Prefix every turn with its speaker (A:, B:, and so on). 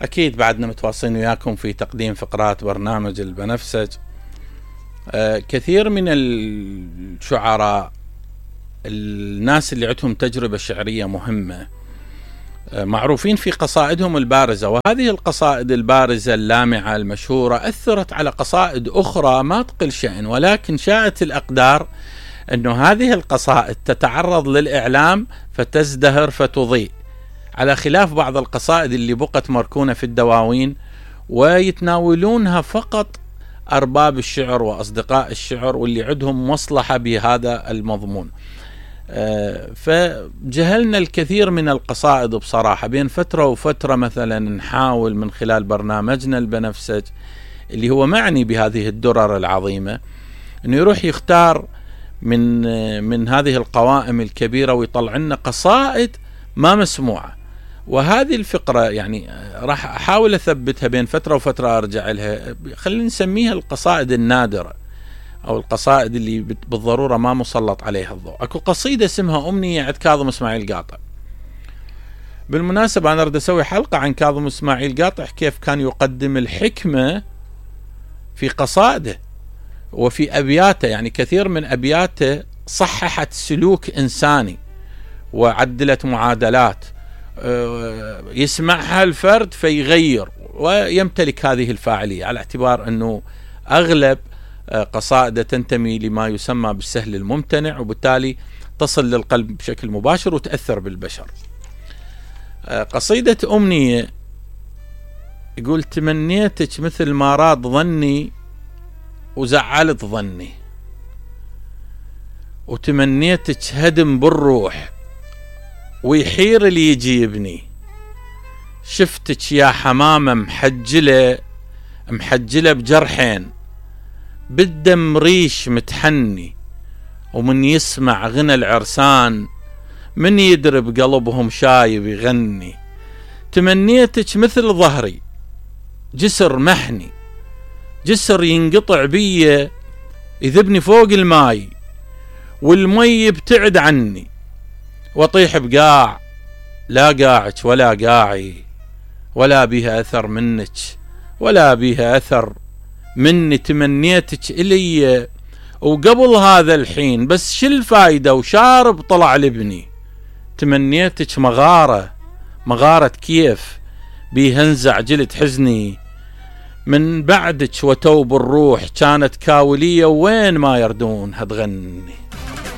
A: أكيد بعدنا متواصلين وياكم في تقديم فقرات برنامج البنفسج. كثير من الشعراء، الناس اللي عندهم تجربة شعرية مهمة، معروفين في قصائدهم البارزة، وهذه القصائد البارزة اللامعة المشهورة أثرت على قصائد أخرى ما تقل شأن، ولكن شاءت الأقدار أنه هذه القصائد تتعرض للإعلام فتزدهر فتضيء، على خلاف بعض القصائد اللي بقت مركونة في الدواوين ويتناولونها فقط أرباب الشعر وأصدقاء الشعر واللي عندهم مصلحة بهذا المضمون. فجهلنا الكثير من القصائد بصراحة. بين فترة وفترة مثلا نحاول من خلال برنامجنا البنفسج اللي هو معني بهذه الدرر العظيمة أنه يروح يختار من هذه القوائم الكبيرة ويطلع لنا قصائد ما مسموعة. وهذه الفقرة يعني راح أحاول أثبتها بين فترة وفترة أرجع لها، خلينا نسميها القصائد النادرة أو القصائد اللي بالضرورة ما مسلط عليها الضوء. أكو قصيدة اسمها أمنية عند كاظم إسماعيل قاطع. بالمناسبة أنا أريد أسوي حلقة عن كاظم إسماعيل قاطع، كيف كان يقدم الحكمة في قصائده وفي أبياته. يعني كثير من أبياته صححت سلوك إنساني وعدلت معادلات يسمعها الفرد فيغير ويمتلك هذه الفاعلية، على اعتبار أنه أغلب قصائد تنتمي لما يسمى بالسهل الممتنع، وبالتالي تصل للقلب بشكل مباشر وتأثر بالبشر. قصيدة أمنية يقول: تمنيتك مثل ما راد ظني وزعلت ظني، وتمنيتك هدم بالروح ويحير اللي يجيبني، شفتك يا حمامة محجلة بجرحين، بالدم ريش متحني، ومن يسمع غنى العرسان من يدرب قلبهم شايب يغني. تمنيتك مثل ظهري جسر محني، جسر ينقطع بيه يذبني فوق الماي، والمي يبتعد عني، وطيح بقاع لا قاعك ولا قاعي، ولا بيها أثر منك ولا بيها أثر مني. تمنيتك إلي وقبل هذا الحين، بس شو الفايدة وشارب طلع لبني. تمنيتك مغارة كيف بيهنزع جلد حزني، من بعدك وتوب الروح كانت كاولية وين ما يردون هتغني.